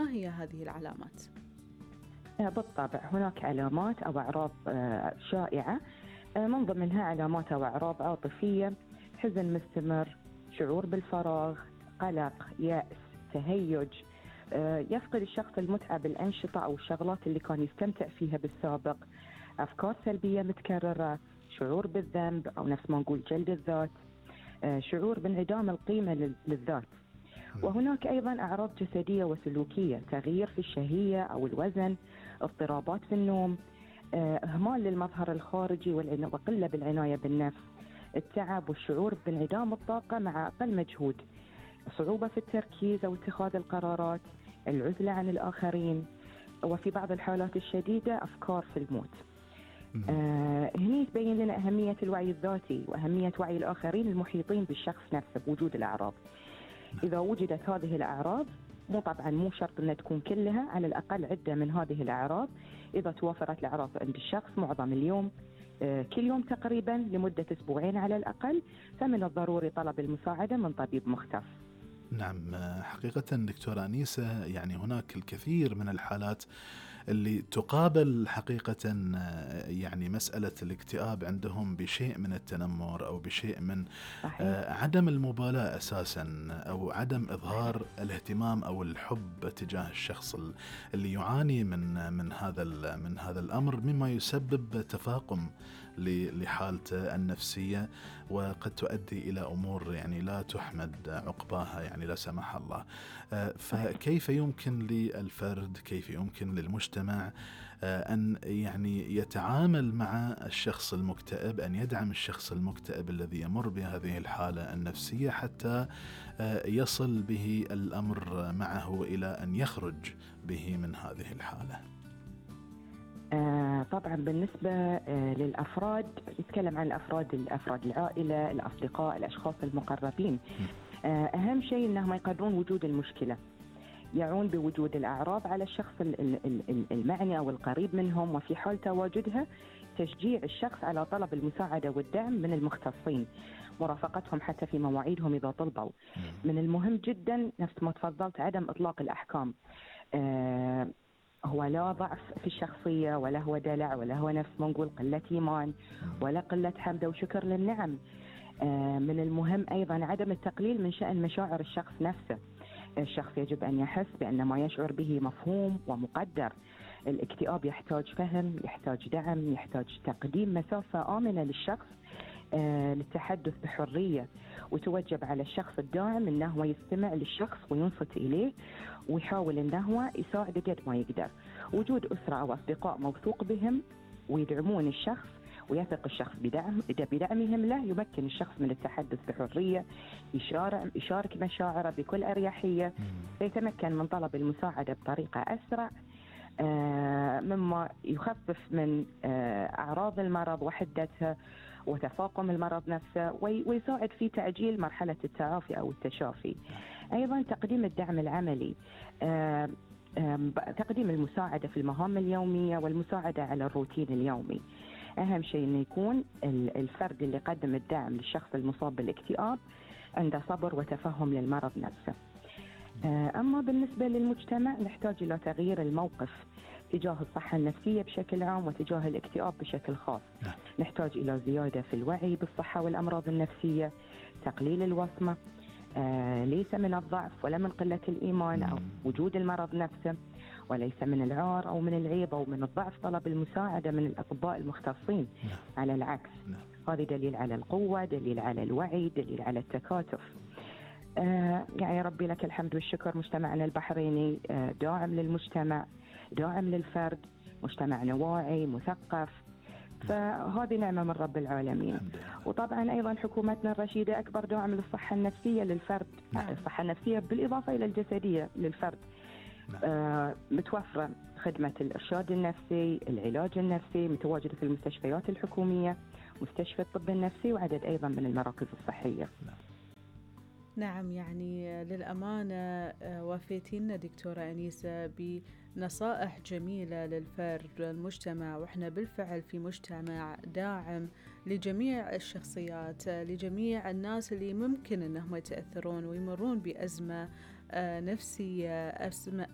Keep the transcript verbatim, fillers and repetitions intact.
ما هي هذه العلامات؟ بالطبع هناك علامات أو أعراض شائعة، من ضمنها علامات أو أعراض عاطفية، حزن مستمر، شعور بالفراغ، قلق، يأس، تهيج، يفقد الشخص المتعة بالأنشطة أو الشغلات اللي كان يستمتع فيها بالسابق، أفكار سلبية متكررة، شعور بالذنب أو نفس ما نقول جلد الذات، شعور بانعدام القيمة للذات. وهناك أيضا أعراض جسدية وسلوكية، تغيير في الشهية أو الوزن، اضطرابات في النوم، إهمال للمظهر الخارجي وقلة بالعناية بالنفس، التعب والشعور بانعدام الطاقة مع أقل مجهود، صعوبة في التركيز أو اتخاذ القرارات، العزلة عن الآخرين، وفي بعض الحالات الشديدة أفكار في الموت. آه هني تبين لنا أهمية الوعي الذاتي وأهمية وعي الآخرين المحيطين بالشخص نفسه بوجود الأعراض. إذا وجدت هذه الأعراض، مو طبعا مو شرط أن تكون كلها، على الأقل عدة من هذه الأعراض إذا توفرت الأعراض عند الشخص معظم اليوم، آه كل يوم تقريبا لمدة أسبوعين على الأقل، فمن الضروري طلب المساعدة من طبيب مختص. نعم، حقيقة دكتورة أنيسة، يعني هناك الكثير من الحالات اللي تقابل حقيقة يعني مسألة الاكتئاب عندهم بشيء من التنمر أو بشيء من صحيح. عدم المبالاة أساسا أو عدم إظهار الاهتمام أو الحب تجاه الشخص اللي يعاني من من هذا من هذا الأمر، مما يسبب تفاقم لحالته النفسية، وقد تؤدي إلى أمور يعني لا تحمد عقباها، يعني لا سمح الله. فكيف يمكن للفرد، كيف يمكن للمجتمع أن يعني يتعامل مع الشخص المكتئب، أن يدعم الشخص المكتئب الذي يمر بهذه الحالة النفسية حتى يصل به الأمر معه إلى أن يخرج به من هذه الحالة؟ آه طبعا بالنسبة آه للأفراد، نتكلم عن الأفراد الأفراد العائلة، الأصدقاء، الأشخاص المقربين. آه أهم شيء أنهم يقدرون وجود المشكلة، يعون بوجود الأعراض على الشخص المعني أو القريب منهم، وفي حال تواجدها تشجيع الشخص على طلب المساعدة والدعم من المختصين، مرافقتهم حتى في مواعيدهم إذا طلبوا. من المهم جدا نفس ما تفضلت عدم إطلاق الأحكام. آه هو لا ضعف في الشخصية، ولا هو دلع، ولا هو نفس ما نقول قلة إيمان، ولا قلة حمد وشكر للنعم. آه من المهم أيضا عدم التقليل من شأن مشاعر الشخص نفسه. الشخص يجب أن يحس بأن ما يشعر به مفهوم ومقدر. الاكتئاب يحتاج فهم، يحتاج دعم، يحتاج تقديم مسافة آمنة للشخص آه للتحدث بحرية، وتوجب على الشخص الداعم أنه يستمع للشخص وينصت إليه ويحاول أنه يساعد قد ما يقدر. وجود أسرة أو أصدقاء موثوق بهم ويدعمون الشخص ويثق الشخص بدعم بدعمهم له، يمكن الشخص من التحدث بحرية، يشارك يشارك مشاعره بكل أريحية، يتمكن من طلب المساعدة بطريقة أسرع، آه مما يخفف من آه أعراض المرض وحدتها وتفاقم المرض نفسه، ويساعد في تعجيل مرحلة التعافي أو التشافي. أيضا تقديم الدعم العملي، آه تقديم المساعدة في المهام اليومية والمساعدة على الروتين اليومي. أهم شيء أن يكون الفرد اللي يقدم الدعم للشخص المصاب بالاكتئاب عنده صبر وتفهم للمرض نفسه. أما بالنسبة للمجتمع، نحتاج إلى تغيير الموقف تجاه الصحة النفسية بشكل عام وتجاه الاكتئاب بشكل خاص. نحتاج إلى زيادة في الوعي بالصحة والأمراض النفسية، تقليل الوصمة، آه ليس من الضعف ولا من قلة الإيمان أو وجود المرض نفسه، وليس من العار أو من العيب أو من الضعف طلب المساعدة من الأطباء المختصين. على العكس، هذا دليل على القوة، دليل على الوعي، دليل على التكاتف. آه يعني ربي لك الحمد والشكر، مجتمعنا البحريني آه داعم للمجتمع، داعم للفرد، مجتمعنا واعي مثقف، فهذه نعمة من رب العالمين. وطبعا أيضا حكومتنا الرشيدة أكبر داعم للصحة النفسية للفرد، الصحة النفسية بالإضافة إلى الجسدية للفرد. آه متوفرة خدمة الإرشاد النفسي، العلاج النفسي، متواجدة في المستشفيات الحكومية، مستشفى الطب النفسي، وعدد أيضا من المراكز الصحية. نعم، يعني للأمانة وافيتينا دكتورة أنيسة بنصائح جميلة للفرد والمجتمع، وإحنا بالفعل في مجتمع داعم لجميع الشخصيات، لجميع الناس اللي ممكن أنهم يتأثرون ويمرون بأزمة نفسية، أزمة